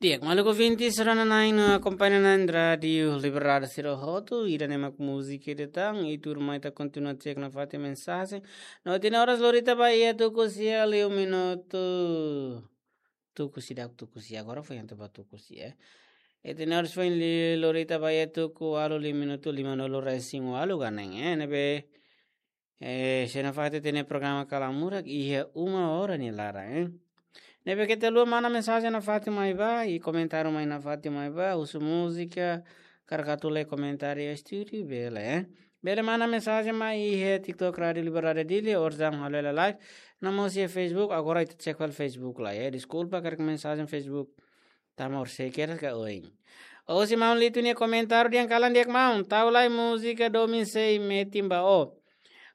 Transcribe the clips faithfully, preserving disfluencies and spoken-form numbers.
Di'ak, maluk ouvintes, rona-na'in no akompaña-na'in Rádiu Liberdade sira hotu, ida-ne'e mak múzika ida tan, i tuirmai ita kontinua cek nafatin mensajen. No tinan oras lori ita ba iha tuku sia liu minutu. Tuku sia, dak tuku sia, agora foin atu ba tuku sia, eh. Tinan oras foin li-, lori ita ba iha tuku ualu liu minutu lima-nulu-resin-ualu ka neen, eh, ne'ebé, eh, sei nafatin ita-nia programa Kala Murak iha uma hora nia laran, eh. Ne'ebé keta haluha manda mensajen nafatin mai ba, i komentáriu mai nafatin mai ba, husu múzika, karik atu lee komentáriu iha estúdiu, bele, eh. Bele manda mensajen mai iha TikTok Rádiu Liberdade Dili, orsida halo hela live, no mós iha Facebook, agora ita cek fali Facebook lai, eh. Deskulpa karik mensajen Facebook tama orsida kedas ka oin. Husi maun Litu nia komentáriu dehan: kalan di'ak maun, tau lai múzika Domin Sei Metin Ba Ó.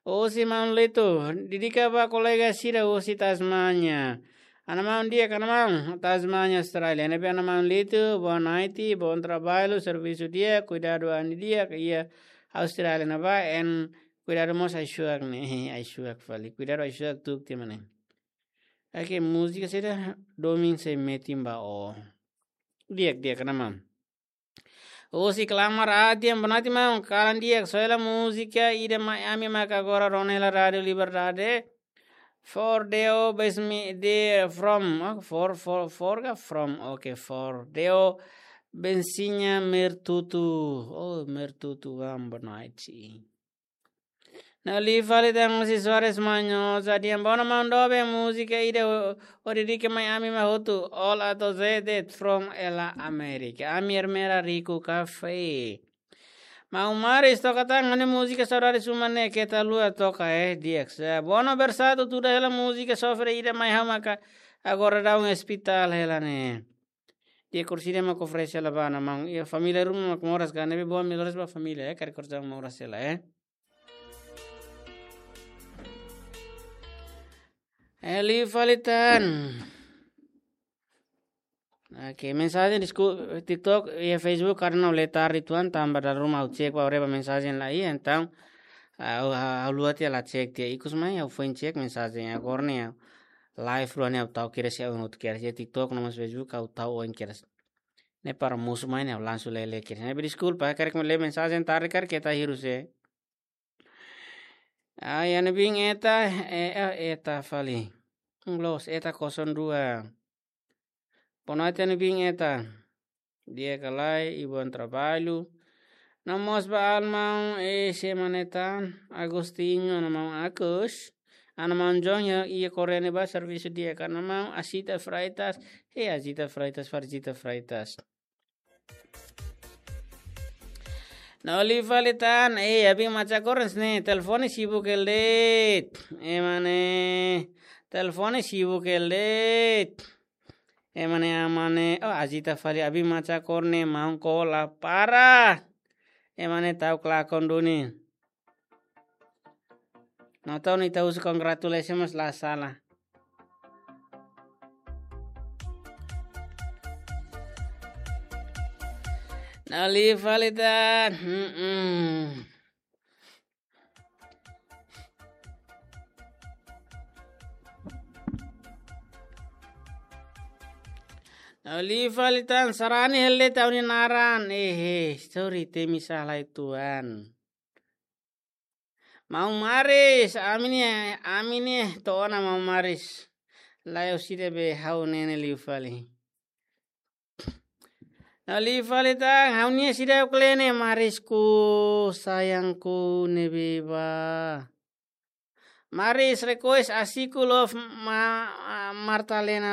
Husi maun Litu, dedika ba kolega sira husi Tasmania. Ana maun di'ak, ana maun, Tasmania, Austrália. Ne'ebé ana maun Litu, boa noite, bom trabalho, servisu di'ak, kuidadu an di'ak iha Austrália ne'ebá, en kuidadu mós ai-suak ne'e, ai-suak fali. Kuidadu ai-suak tuuk tiha mak ne'e. Oke, múzika saida, Domin Sei Metin Ba Ó. Di'ak, di'ak, ana maun. Husi Klamar Atian, boa noite maun, kalan di'ak, soe hela múzika ida mai ami maka agora rona hela Rádiu Liberdade. For Deo Besmi de from, ah, for, for, for ka from, oke, For Deo Bensinya Mertutu. Oh, Mertutu, bam, boa noite. No liu fali tan husi Soares Manhosa dehan: bono maun doben múzika ida ó, ó dedika mai ami mak hotu, All Ato Zedit from Ela Amérika. Ami ermera Rico Café. Maun Maris toka tan ha'u-nia múzika Saudades Uma ne'e, keta haluha toka, eh, di'ak sa. Bono Bersatu tuda hela múzika sofre ida mai ha'u maka agora daudaun ospitál hela ne'e. Di'ak, orsida mak oferese hela ba, ana maun. Iha família ruma mak moras ka, ne'ebé boa, melhoras ba família, eh, karik orsida moras hela, eh. Eh, liu fali tan. Oke, mensajen, desku-, TikTok, iha Facebook, karena ha'u lee tarde uitoan, tanba dala ruma ha'u cek ba, haree ba mensajen la iha, entaun, ah, ha'u, ha'u, ha'u haluha tiha la cek tiha, ikus mai ha'u foin cek mensajen, agora ne'e ha'u live rua ne'e ha'u tau kedas, ha'u not kedas, iha TikTok no mós Facebook ha'u tau oin kedas. Ne'e para mosu mai ne'e ha'u langsung lee, lee kedas. Ne'ebé deskulpa, karik lee mensajen tarde karik keta hirus, eh. Ai, iha ne'ebé Eta, eh, eh, Eta fali. Los, Eta kosong dua. Boa noite, iha ne'ebé Eta. Di'ak ka lae, i bom trabalho. No mós ba ana maun, eh, sé mak ne'e tan, Agostinho, ana maun Agus. Ana maun John iha, iha Korea ne'ebá servisu di'ak, ana maun Azita Freitas. Eh, Azita Freitas, Farzita Freitas. No liu fali tan, eh, abin macha korens ne'e, telefone sibuk hela de'it. Ema ne'e, telefone sibuk hela de'it. Ema ne'e, ema ne'e, oh, Azita fali, abin macha korens ne'e, maun kola para. Ema ne'e tau klakon duni. No tau ni tau husu congratulations mós la sala. No liu fali tan. Mm-mm. No liu fali tan, sarani hela de'it ha'u-nia naran. Eh, eh, sorry, temi sala uitoan. Maun Maris, ami ne'e, ami ne'e to'o ona Maun Maris. Lae, orsida be ha'u ne'e ne'e liu fali. No liu fali tan, ha'u-nia seidauk lee ne'e, Marisku, sayangku, ne'ebé ba. Maris request Asiku Love ma-, Martalena